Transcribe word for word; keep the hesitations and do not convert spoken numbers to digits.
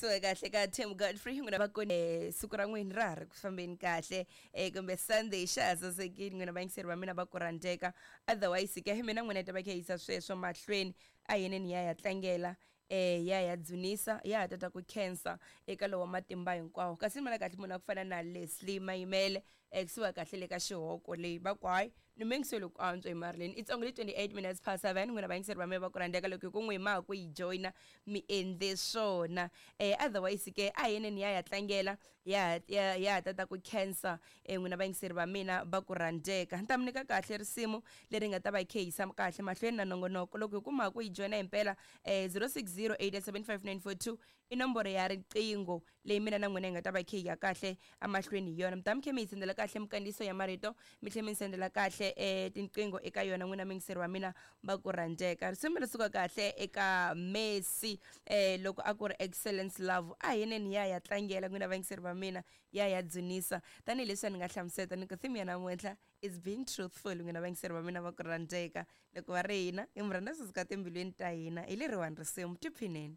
Suka kahle ka Tim Godfrey n'wina va kone siku ra n'wina ra ha ri ku fambeni kahle eh kumbe Sunday xa ha sasekile n'wina vayingiseri va mina va ku rhandzeka. Otherwise ke mina n'wina hi ta va kha hi yisa sweswo mahlweni a yeneni ya ya tlangela eh ya ya dzunisa ya ha tata ku khensa eka lowa matimba hinkwawo. Kasi ni vona kahle munhu a ku fana na Leslie Mayimele eh kusuka kahle le ka xihoko leyi va ku hayi ni mengiselo ku antswa hi Marilyn. It's only twenty-eight minutes past seven n'wina vayingiseri va mina va ku rhandzeka loko hi ku n'wi ma ku yi joyina mi endle swona. Eh otherwise ke a yeneni ya ya tlangela ya ya ya tata ku khensa eh n'wina vayingiseri va mina va ku rhandzeka. Ni ta mi nyika kahle risimu leri nga ta va khe yisa kahle mahlweni na nongonoko loko hi kuma ku yi joyina himpela eh zero six zero eight seven five nine four two i nomboro ya riqingho leyi mina na n'wina hi nga ta va khe hi ya kahle emahlweni hi yona. Mi ta mi khe mi yi sendela kahle minkandziyiso ya marito mi tlhela mi sendela kahle eh tinqingho eka yona n'wina muyingiseri wa mina va ku rhandzeka. Risimu ri suka kahle eka Messi eh loko a ku ri Excellence Love a yeneni ya ya tlangela n'wina vayingiseri va mina ya ya dzunisa tanihileswi ni nga hlamuseta ni ku theme ya namuntlha is being truthful n'wina vayingiseri va mina va ku rhandzeka. Loko va ri hina hi mi rhandza swi suka timbilwini ta hina hi leriwani risimu tiphineni.